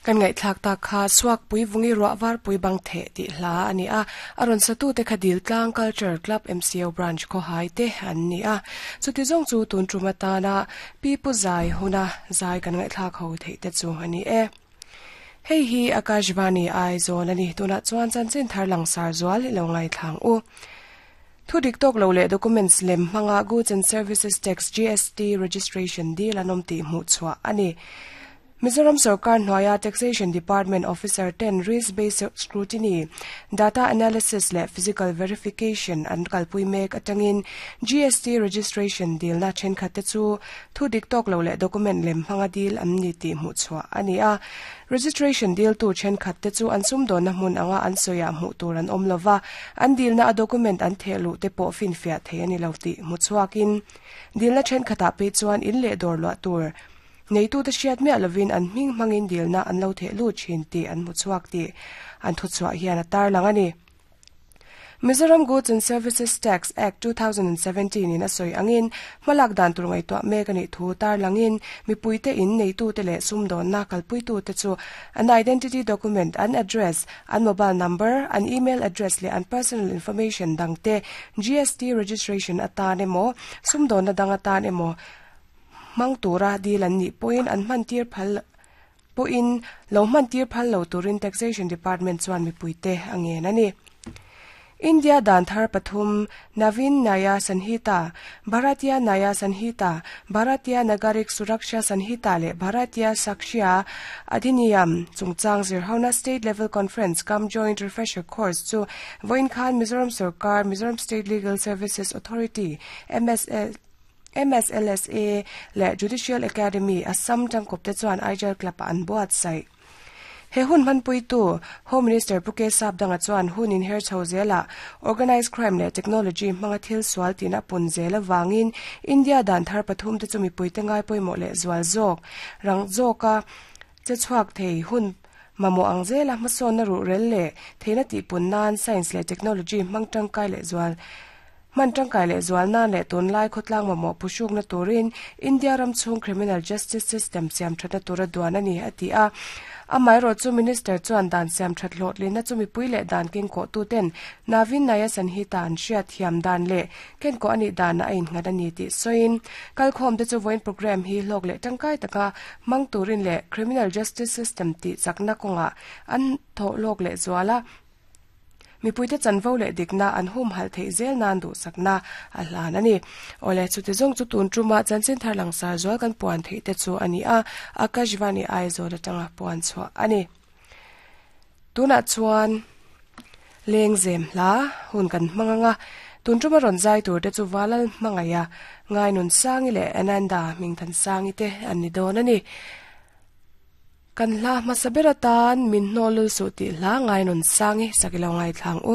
Kan ngaihthlak tak kha Suakpui Vungi Ruah Varpui Bang Theh tih hla a ni a, a rawn satute kha Diltlang Culture Club MCO Branch khawhai te an ni a. Chuti zawng chu tun tum atana Pi Pu Zai huna zai kan ngaihthlak ho theih te chu a ni e. Hei hi Akashvani Aizawl a ni. Tunah chuan chanchin thar langsar zual i lo ngaithlang u. Thu dik tawk lo leh documents lem hmanga Goods and Services Tax, GST, registration dil an awm tih hmuh chhuah a ni. Mizoram sorkar hnuaia Taxation Department officer ten risk based scrutiny, data analysis leh physical verification an kalpui mek atangin GST registration dilna thenkhat te chu thu dik tawk lo leh document lem hmanga dil an ni tih hmuh chhuah a ni a. Registration diltu thenkhat te chu an sumdawnna hmun anga an sawiah hmuh tur an awm lova, an dilna a document an theh luh te pawh finfiah thei a ni lo tih hmu chhuakin dilna thenkhatah phei chuan in leh dawr luah tur Neitute hriat miah lovin an hming hmangin dilna an lo theh lut thin tih an hmu chhuak tih an thuchhuah hian a tarlang a ni. Mizoram Goods and Services Tax Act 2017 in a sawi angin hmalak dan tur ngaihtuah mek a nih thu tarlangin mipuite in neitute leh sumdawnna kalpuitute chu an identity document, an address, an mobile number, an email address leh an personal information dangte GST registration atan emaw sumdawnna dang atan emaw Hmang tura dil an nih pawhin an hmantir phal pawhin lo hmantir phal lo turin Taxation Department chuan mipuite a ngen a ni. India dan thar pathum Naveen Nyaya Sanhita, Bharatiya Nyaya Sanhita, Bharatiya Nagarik Suraksha Sanhita leh Bharatiya Sakshya Adhiniyam chungchang zirhona State Level Conference cum Joint Refresher Course chu vawiin khan Mizoram Sorkar, Mizoram State Legal Services Authority, MSL, MSLSA, leh Judicial Academy, Assam tangkawpte chuan Aijal Club-ah an buatsaih. He hun hmanpuitu Home Minister Pu K Sapdanga chuan hun inher chho zelah organised crime leh technology hmanga thil sual tina pun zel avangin India dan thar pathumte chu mipuite ngai pawimawh leh zual zawk rang zawka che chhuak thei hun mamawh ang zela hmasawnna ruhrel leh theihna tihpun nan science leh technology hmang tangkai leh zual Hman tangkai leh zual nan leh tunlai khawtlang mamawh phuhrukna turin India ram chhung criminal justice system siam thatna tura duan a ni, a ti a. Amaherawh chu Minister chuan dan siam that hlawhtlinna chu mipui leh dan kengkawhtuten Naveen Naya Sanhita an hriat thiam dan leh kenkawh a nih danah a innghat a ni tih sawiin kalkhawmte chu vawiin programme hi hlawk leh tangkai taka hmang turin leh criminal justice system tih chakna kawngah an thawh hlawk leh zual a. Mipuite chanvo leh dikna an humhalh theih zel nan duhsakna a hlan a ni. Awle, chuti zawng chu tun tuma chanchin thar langsar zual kan puan theih te chu a ni a, Akashvani Aizawl atanga puan chhuah a ni. Tunah chuan lengzem hla hun kan hmang ang a, tun tuma rawn zai tur te chu Valal Hmangaiha, Ngainunsangi leh Ananda Hmingthansangi te an ni dawn a ni. Kan hla hmasa ber atan min hnawl lul suh tih hla ngai nun sang i sak i lo ngaithlang u.